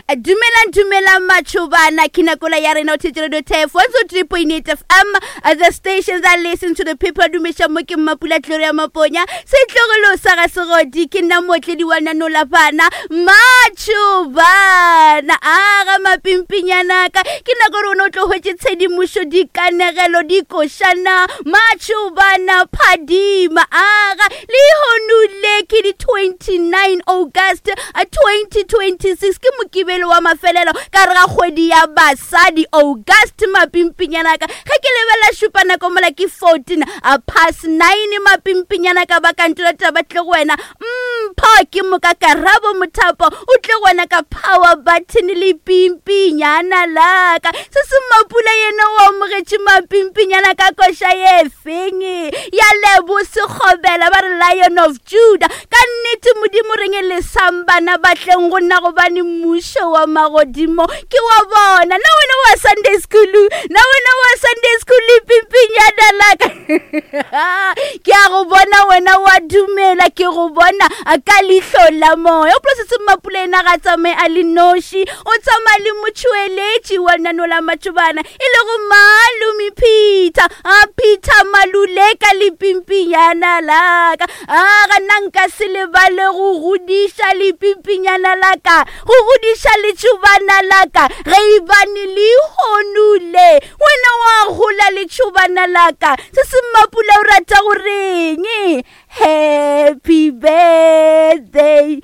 Dumelang, dumelang matšhobana, ke nakola ya rena o thetše radio tef 103.8 FM, the station that listen to the people. Dumeša mo ke Mmapula Gloria Maponya, setlogolo sa ga Segodi, ke nna mootledi wa nanola bana matšhobana. Aga mapimpinyanaka, ke nako gore o ne o tlo hwetše tshedimošo, dikanegelo, dikošana, matšhobana phadima. Aga Lehono le ke di 29 August 2026, ke mokibelo wa mafelelo ka re ga kgwedi ya basadi August. Mapimpinyana ka ge ke lebelela šupa nako mola ke 14 past 9. Mapimpinyana ka ba kantola taba tle go wena mpho ke moka karabo mothapo o tle go wena ka power button le pimpinyana laka se se mapula yena o amogetše mapimpinyana ka koša ye feng ya lebo sekgobela ba re Lion of Judah. Ka nnete Modimo reng lesang bana ba tleng go nna, gobane mmušo wa magodimo ke wa bona. Na wena wa Sunday school, na wena wa Sunday school pimpinyana laka ke a go bona wena wa dumela, ke go bona ka leihlo la moya. O polose se Mmapula ena ga tsamaye a le noši, o tsamaya le motšhweletši wa lenaneo la matšobana e lego Malome Peter. A Peter Maluleka lepimpinyana laka, a ga nna nka se lebale go godiša lepimpinyana laka, go godiša letšobana laka ge e bane lehono le wena wa gola letšobana laka. Se se Mmapula o rata go reng? Happy birthday.